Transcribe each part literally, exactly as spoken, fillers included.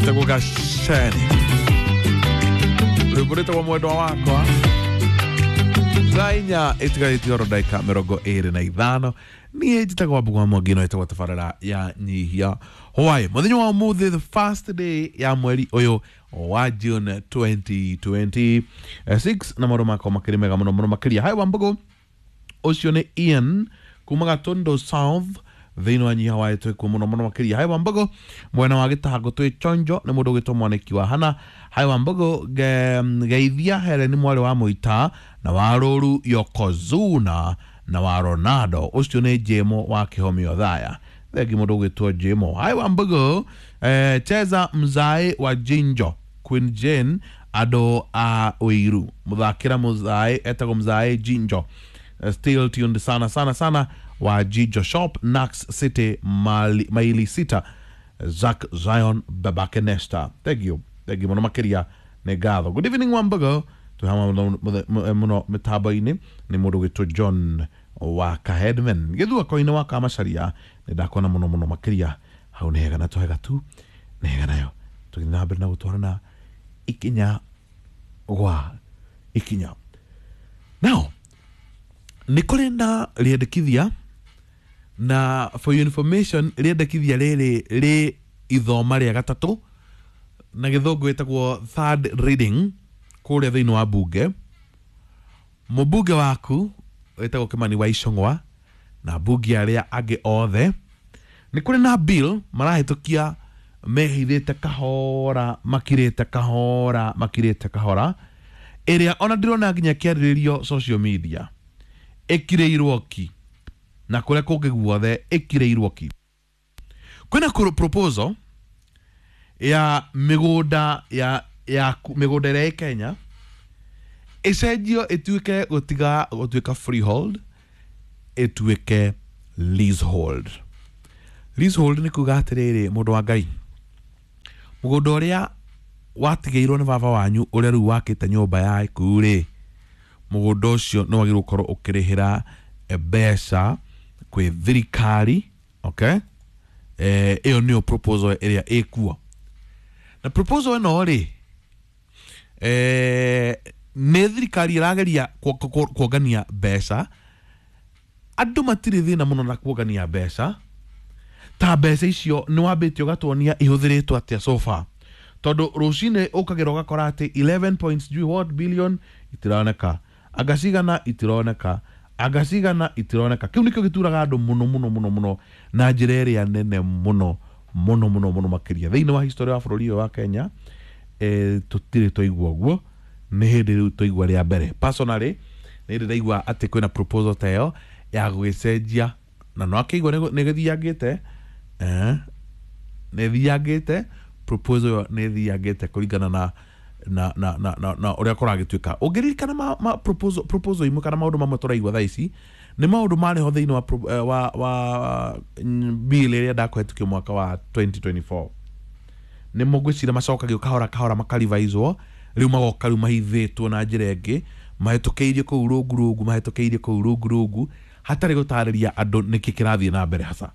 Etagwo Gaceni, rwĩmbo rwĩtagwo Mwendwa Wakwa. Thaa inya ĩtigarĩtie oro ndagĩka mĩrongo ĩrĩ na ithano. Niĩ njĩtagwo Wambũgũ wa Mwangi, no ĩtagwo tabarĩra ya Nyihia Hwaĩ. Mũthenya wa ũmũthĩ, the first day ya mweri ũyũ wa June twenty twenty-six, na maũndũ makwa makĩrĩ mega mũno mũno makĩria. Hai Wambũgũ, ũcio nĩ Ian kuma Gatondo South thĩinĩ wa Nyiha wa twĩkuo mũno mũno makĩria. Hai Wambũgũ, mwena wa Gĩtango twĩ chonjo. Nĩ mũndũ ũgĩtwo Mwanĩki wa Hana. Hai Wambũgũ, ge- geithia Hereni mwarĩ wa Mũita na wa Rũru Yokozuna na wa Ronaldo. Ũcio nĩ Jemo wa Kĩhomio Thaya. Thengi mũndũ ũgĩtwo Jemo. Hai Wambũgũ, eh, cheza Mzae wa Jinjo, Queen Jane, andũ a Ũiru. Mũthakĩra Mzae, etagwo Mzae Jinjo. Still tuned sana sana sana wa Jijo Shop, Nax City, Mali, maili sita, Zack Zion, Babake Nesta. Thank you, thank you mũno makĩria, nĩ ngatho. Good evening Wambago, twĩ hamwe mũno mĩtambo-inĩ. Nĩ mũndũ ũgĩtwo John wa Kahedman gĩthua-koinĩ wa Kamacaria. Nĩ ndakuona mũno mũno makĩria hau. Nĩ hega na twega tu, nĩ hega nayo tũgĩthiĩ na mbere na gũtwarana ikinya gwa ikinya. Now nĩ kũrĩ na rĩendekithia, na for your information, rĩendekithia rĩrĩ rĩ ithoma rĩa gatatũ, na gĩthũngũ ĩtagwo third reading, kũrĩa thĩinĩ wa bunge. Mũmbunge waku wĩtagwo Kimani wa Ichung'wa na mbunge arĩa angĩ othe, nĩ kũrĩ na bill marahĩtũkia mehithĩte kahora, makirĩte kahora, makirĩte kahora, ĩrĩa ona ndĩrona nginya kĩarĩrĩrio social media. Ĩkirĩirwo ki na kũrĩa kũngĩ guothe ĩkirĩirwo ki. Kwĩna kũrũ- proposal ya mĩgũnda ya ya mĩgũnda ĩrĩa ĩ Kenya ĩcenjio, ĩtuĩke gũtiga gũtuĩka freehold, ĩtuĩke leasehold. Leasehold nĩ kuga atĩrĩrĩ, mũndũ wa Ngai, mũgũnda ũrĩa watigĩirwo nĩ baba wanyu, ũrĩa rĩu wakĩte nyũmba yaku rĩ, mũgũnda ũcio nĩ wagĩrĩirwo gũkorwo ũkĩrĩhĩra eh, mbeca kwĩ thirikari, okay? eh, ĩyo nĩyo proposal ĩrĩa ĩkuo. Na proposal ĩno rĩ, eh, nĩ thirikari ĩrageria kuo- kuo- kuongania mbeca. Andũ matirĩ thĩna mũno na kuongania mbeca, ta mbeca icio nĩ wambĩte ũgatuonia ihũthĩrĩtwo atĩa so far, tondũ rũcinĩ ũkagĩra ũgakora atĩ eleven point sijui what billion itironeka, anga cigana itironeka, anga cigana itironeka. Kĩu nĩkĩo gĩturaga andũ mũno mũno mũno mũno na njĩra ĩrĩa nene mũno mũno mũno mũno makĩria. Thĩinĩ wa history wa bũrũri ũyũ wa Kenya, eh, tũtirĩ twaigua ũguo. Nĩ hĩndĩ rĩu twaigua rĩa mbere. Personally, nĩ hĩndĩ ndaigua atĩ kwĩna proposal ta ĩyo ya gũgĩcenjia, na no akĩigua nĩ gĩthiangĩte, eh, nĩ thiangĩte. Proposal ĩyo nĩ thiangĩte kũringana na na na na na, na ũrĩa kũragĩtuĩka. Ũngĩririkana ma, ma proposal, proposal imwe kana maũndũ mamwe tũraigua thaa ici nĩ maũndũ marĩ ho thĩinĩ wa, pro- eh, wa, wa mm, bill ĩrĩa ndakũhetũkio mwaka wa twenty twenty-four. Nĩ ngwĩciria macokagio kahora kahora, makarivaizwo, rĩu magoka rĩu mahithĩtwo na njĩra ĩngĩ, mahĩtũkĩirio kũu rungu rungu, mahĩtũkĩirio kũu rungu rungu, hatarĩ gũtarĩria andũ nĩkĩ kĩrathiĩ na mbere hasa.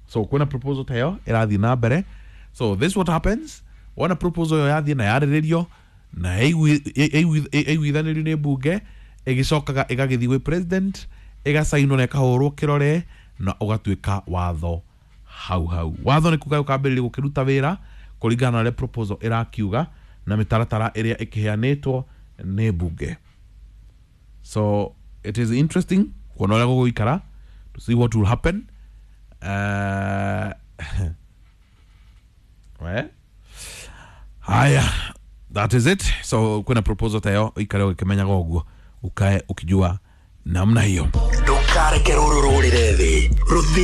So kwĩna proposal ta ĩyo ĩrathiĩ na mbere. So this what happens wona proposal ĩyo yathiĩ na yarĩrĩrio na ĩiguithanĩrio nĩ mbunge, ĩgĩcokaga ĩgagĩthiĩ gwĩ president, ĩgacainwo na ĩkahũrwo kĩrore na ũgatuĩka watho hau hau. Watho nĩ kuga ũkambĩrĩria gũkĩruta wĩra kũringana na ũrĩa proposal ĩrakiuga na mĩtaratara ĩrĩa ĩkĩheanĩtwo nĩ mbunge. So it is interesting kuona ũrĩa gũgũikara, to see what will happen. uh, we haya, that is it. So kwĩna proposal ta ĩyo, ũikare ũgĩkĩmenyaga ũguo, ukae ukijua namna hiyo. Ndũkareke rũrũ rũrĩre thĩ rũthiĩ.